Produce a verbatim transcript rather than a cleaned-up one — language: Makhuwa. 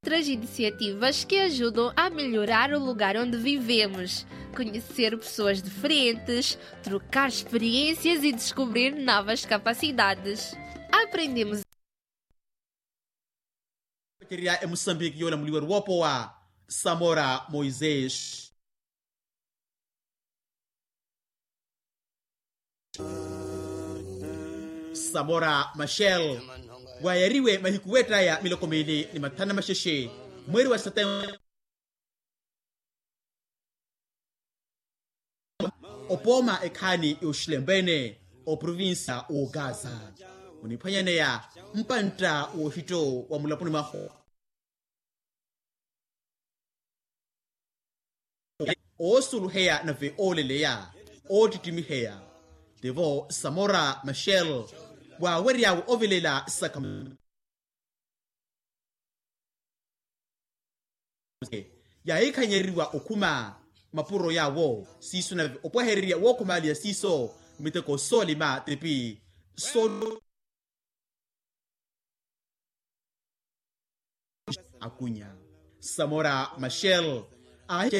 Outras iniciativas que ajudam a melhorar o lugar onde vivemos, conhecer pessoas diferentes, trocar experiências e descobrir novas capacidades. Aprendemos. Emusambiki yoolamuliwa eri woopowa samora moisés. Samora machel, waayariwe mahiku weettaya miloko miili ni mathanu maxexe, mweeri wa setembere. Opooma ekhaani yoxilempene, oprovincia wookaza oniphwanyaneya mpantta wooxitto wa mulaponi mwahu. Oosuluheya nave ooleleya, oottittimiheya. Tivo samora machel, waawery'awe ovelela sakamento. Yaahikhanyereriwa okhuma mapuro yaawo siiso nave opwahererya wookhumaaliya siiso miteko soolima tipi so. Akunya samora machel, ahi